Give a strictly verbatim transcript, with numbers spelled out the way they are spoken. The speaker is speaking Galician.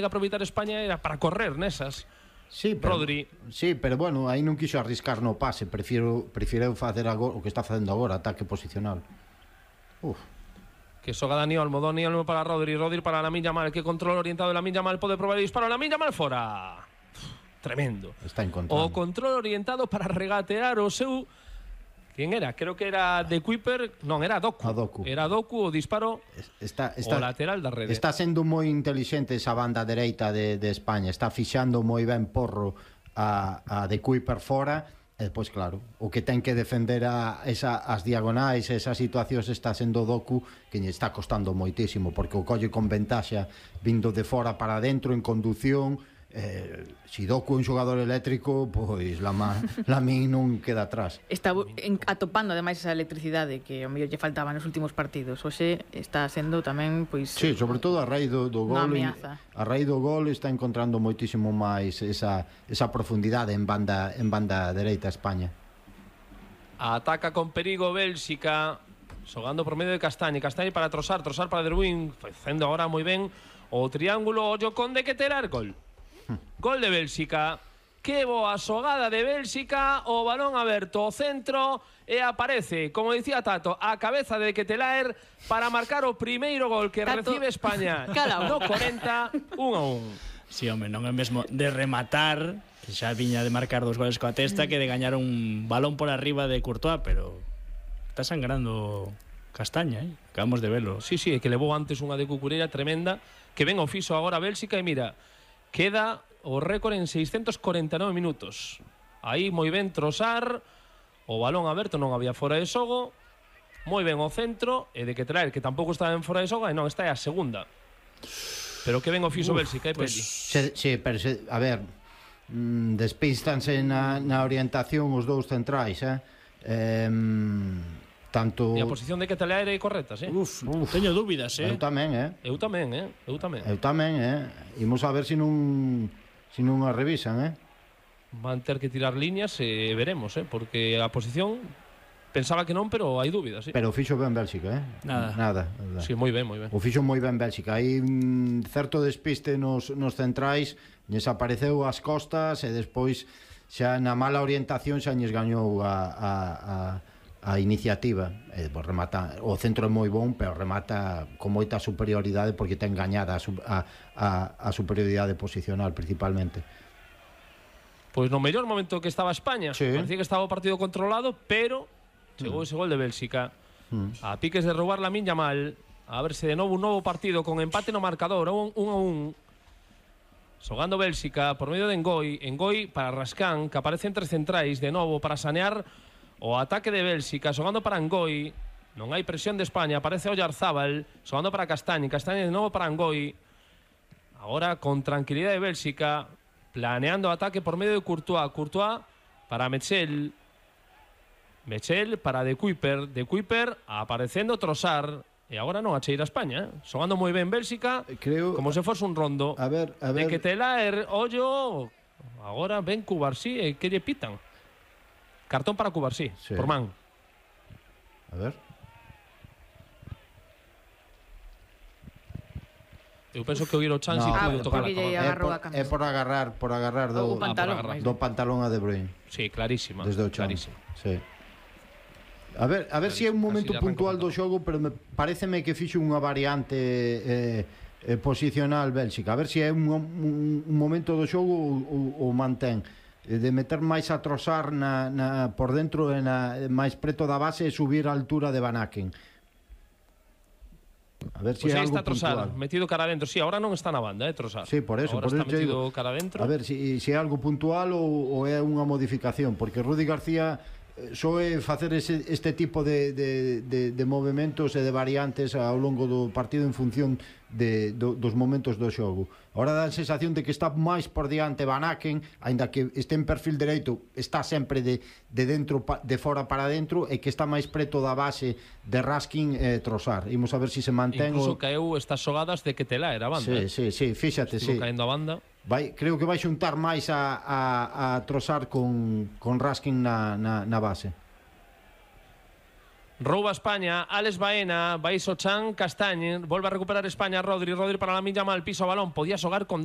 que aproveitar España era para correr nesas. Sí, pero, Rodri. Sí, pero bueno, aí non quixo arriscar no pase, prefiro prefiro facer agora, o que está facendo agora, ataque posicional. Uf. Que soga Dani Olmo, Dani Olmo para Rodri, Rodri para Lamine Yamal, que control orientado de Lamine Yamal, pode probar el disparo, Lamine Yamal fora. Uf, tremendo. Está encontrando. O control orientado para regatear o seu... Quen era? Creo que era de Kuiper, non, era Doku. A Doku. Era Doku o disparo está, está, o lateral da rede. Está sendo moi inteligente esa banda dereita de, de España, está fixando moi ben Porro a, a de Kuiper fora, e depois claro, o que ten que defender a esa, as diagonais, esas situacións está sendo Doku, que lle está costando moitísimo, porque o colle con ventaxa vindo de fora para dentro en condución. Eh, si Doku é un xogador eléctrico, pois Lamine non queda atrás. Está en, atopando ademais esa electricidade que ao mellor lle faltaba nos últimos partidos. Hoxe está sendo tamén pois sí, sobre todo a raíz do, do gol, a raíz do gol está encontrando moitísimo máis esa, esa profundidade en banda en banda dereita España. Ataca con perigo Bélxica, xogando por medio de Castañe, Castañe para Trossard, Trossard para Derwin, facendo agora moi ben o triángulo, ollo con de que terar gol. Gol de Bélxica. Que boa xogada de Bélxica. O balón aberto ao centro e aparece, como dicía Tato, a cabeza de Ketelaer para marcar o primeiro gol que Tato recibe España no corenta, un a un. Si, sí, home, non é mesmo de rematar, que xa viña de marcar dos goles coa testa, que de gañar un balón por arriba de Courtois, pero está sangrando Castaña, eh? Acabamos de velo. Sí, sí, é que levou antes unha de Cucurella tremenda, que ven o fixo agora Bélxica e mira, queda o récord en seiscentos corenta e nove minutos. Aí moi ben Trossard, o balón aberto, non había fora de xogo, moi ben o centro, e de que traer, que tampouco estaba en fora de xogo, e non, está é a segunda. Pero que ben o fixo Bélxica, é pues, Peli. Se, se, pero se, a ver, mm, despístanse na, na orientación os dous centrais, eh? eh tanto... E a posición de Ketelaer é correcta, sí? Uf, uf, teño dúbidas, eh? Eu tamén, eh? Eu tamén, eh? Eu tamén. Eu tamén, eh? Imos a ver se si non se si non a revisan, eh? Van ter que tirar líneas e veremos, eh? Porque a posición pensaba que non, pero hai dúbidas, sí. Pero o fixo ben Bélxica, eh? Nada. Nada. Sí, moi ben, moi ben. O fixo moi ben Bélxica. Hai un certo despiste nos, nos centrais, lles apareceu as costas e despois xa na mala orientación xa lles gañou a... a, a a iniciativa, eh, pues remata, o centro é moi bon, pero remata con moita superioridade porque ten gañada a, a, a, a superioridade posicional principalmente. Pois no mellor momento que estaba España, sí. Parecía que estaba o partido controlado, pero chegou mm. ese gol de Bélxica mm. a piques de roubar Lamine Yamal, a verse de novo un novo partido con empate no marcador, un, un a un, xogando Bélxica por medio de Ngoi, Ngoi para Rascán, que aparece entre centrais de novo para sanear o ataque de Bélxica, xogando para Ngoi. Non hai presión de España, aparece Oyarzábal, xogando para Castañe, Castañe de novo para Ngoi. Agora con tranquilidade de Bélxica, planeando o ataque por medio de Courtois, Courtois para Mechel, Mechel para De Kuiper, De Kuiper aparecendo Trossard, e agora non acheira España, eh? Xogando moi ben Bélxica, creo, como se fose un rondo. A ver, a ver. De Ketelaer, ollo, agora ven Cubarsí e que lle pitan. Cartón para Cubarsí, sí. Por man. A ver. Eu penso que o Guiro Chan no, si pudo tocar a cabeza. É por agarrar, por agarrar do, pantalón, ah, do pantalón a De Bruyne. Sí, clarísima. Desde o chan. Clarísima. Sí. A ver, a ver se si é un momento puntual do xogo, pero me pareceme que fixo unha variante eh, eh, posicional Bélxica. A ver se si é un, un, un momento do xogo ou, ou mantén de meter máis a Trossard na, na, por dentro e na, máis preto da base e subir a altura de Van Aken. A ver se si pues é algo está Trossard, puntual. metido cara adentro. Sí, ahora non está na banda, eh, Trossard. Sí, por eso, ahora por está eso metido digo, cara adentro. A ver se si, si é algo puntual ou, ou é unha modificación, porque Rudi García só é facer ese, este tipo de, de, de, de movimentos e de variantes ao longo do partido en función de, do, dos momentos do xogo. Ahora dá a sensación de que está máis por diante Van Aken, aínda que este en perfil dereito, está sempre de, de dentro de fora para dentro, e que está máis preto da base de Raskin e eh, Trossard. Imos a ver se si se mantén. Incluso o... caeu estas xogadas de Ketelaer a banda. Sí, sí, sí, fíxate, Estuvo sí. caendo a banda. Vai, creo que vai xuntar máis a, a, a Trossard con, con Raskin na, na, na base. Rouba España, Alex Baena, Baiso Chan, Castañ, vuelve a recuperar España, Rodri, Rodri para Lamine Yamal, piso balón, podía xogar con Dani